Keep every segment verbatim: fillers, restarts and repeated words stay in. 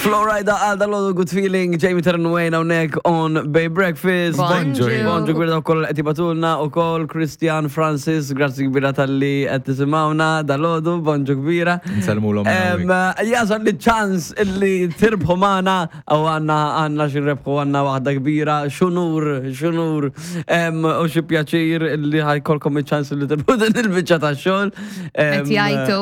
Flo Rida għal dal Good Feeling, Jamie Terran Wayne hawnhekk on Bay Breakfast. Bonġu. Bonġu kbira wkoll qed jibagħtulna ukoll Christian Francis, grazzi kbira talli qed tisimgħuna dal-għodu, bonġu kbira. Nsellmulhom Em, Jasal li ċans illi tirbħu magħna u għandna għandna xi rebħu, għandna waħda kbira, x'unur, x'unur, em, u xi pjaċir illi ħa jkollkom iċ-ċans li tirbħu din il-biċċa ta' xogħol. Qed jgħajtu.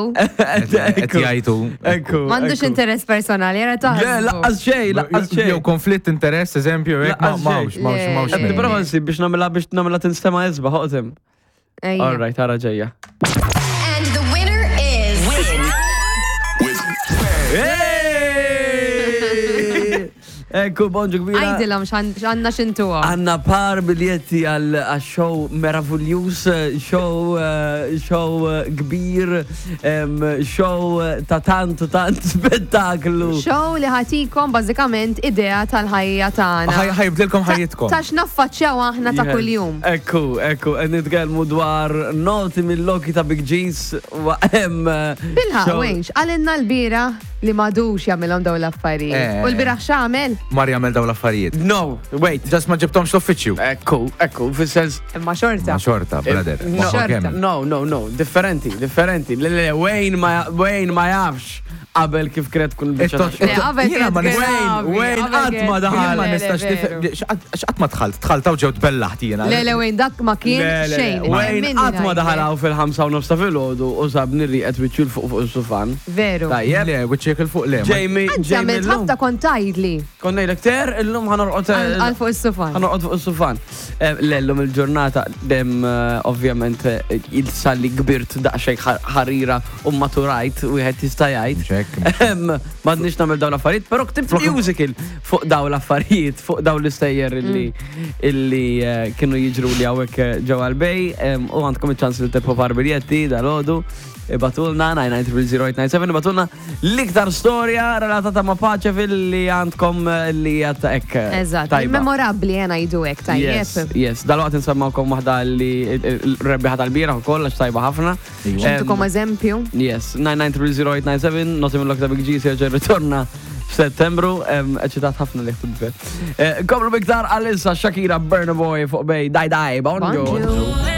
Qed jgħajtu. Ekku. M'għandux ekku. interess personali, jara Le, taħsbu. lanqas xejn, lanqas xejn. Jew konflitt interess, eżempju, hekk ma Lanqas mawx, xejn. mawx, Le. mawx. Qed nipprova nsib biex nagħmilha biex nagħmilha tinstema' isbaħ, oqtim. Ejja. All right, ara ġejja. And the winner is. Win. With Hey! Ekku, bonġu kbira. Għajdilhom x'għandna x'intuhom. Għandna par biljetti għal show meravigliuż, show, eh, show eh, kbir, em, show ta' tant u tant spettaklu. Show li ħa jtikom bażikament idea tal-ħajja tagħna. Ħa jibdlilkom ħajjitkom. Ta' x'naffaċċjaw aħna ta' Yes. kuljum. Ekku, ekku, qed nitkellmu dwar Noti mil-loki ta' Big G's. wa- em, eh, Bilħa, show- Wayne, għalinna l-bieraħ li m'għadux jagħmilhom dawn l-affarijiet. Eh. U l-bieraħ x'għamel? Mar jagħmel dawn l-affarijiet. No, wait. Just ma ġibthomx l-uffiċċju. Ekku, ekku, fis-sens. Imma xorta. Ma xorta, brother. No. Ma Xorta. kemm. No, no, no, differenti, differenti. Le, le, le, Wayne ma, Wayne ma jafx qabel kif kienet tkun il-biċċa ta' It-tot- xogħol. Le, qabel Jiena ma kienet nistax- gravi, Wayne, qabel qatt ma kienet- daħal. Jien ma Le, le, nistax veru. nifhem. X'qatt ma dħalt? Dħalt u ġew tbellaħt jiena. Le, le, Wayne, dak ma kien Le, le, le, xejn. Wayne Minni qatt ma ngħidlek. daħalaw fil-ħamsa u nofs ta' filgħodu u sabni rieqed wiċċu 'l fuq fuq is-sufan. Veru. Tajjeb. Le, wiċċek 'il fuq le. ma- Jamie, Anzi, Jamie għamilt illum. ħafna kont tgħidli Konna ngħidlek ter, illum ħa norqod għal għal fuq is-sufan. ħa norqod fuq is-sufan. Eh, Le, llum il-ġurnata dem eh, ovvjament eh, il-salli kbirt daqsxejn ħar- ħarira u maturajt u wieħed jista' jgħid. Mhux hekk. Em, M'għadniex nagħmel dawn l-affarijiet, però ktibt musical fuq dawn l-affarijiet, fuq dawn l-istejjer illi illi eh, kienu jiġru li hawnhekk eh, ġewwa l-Bay em, u għandkom iċ-ċans li tirbħu par biljetti dal-għodu. Ibagħtulna nine nine zero zero eight nine seven, ibagħtulna l-iktar storja relatata ma' Paċeville li għandkom eh, li għatta ek. eh, Eżatt, tajba. memorabli jena jgħidu hekk, Yes, tajjeb. yes. Dal-waqt nsemmawkom waħda li l-rebbiħa tal-bieraħ u koll, għax tajba ħafna. Iva. Em, Tukom eżempju. Yes, nine nine three zero eight nine seven, Noti mil-loki ta' Big G, se ritorna f'Settembru, em, eċitat ħafna li ħtibbe. Komplu biktar għalissa Shakira, Burna Boy fuq Bay, Dai Dai, bonġu. Bonġu.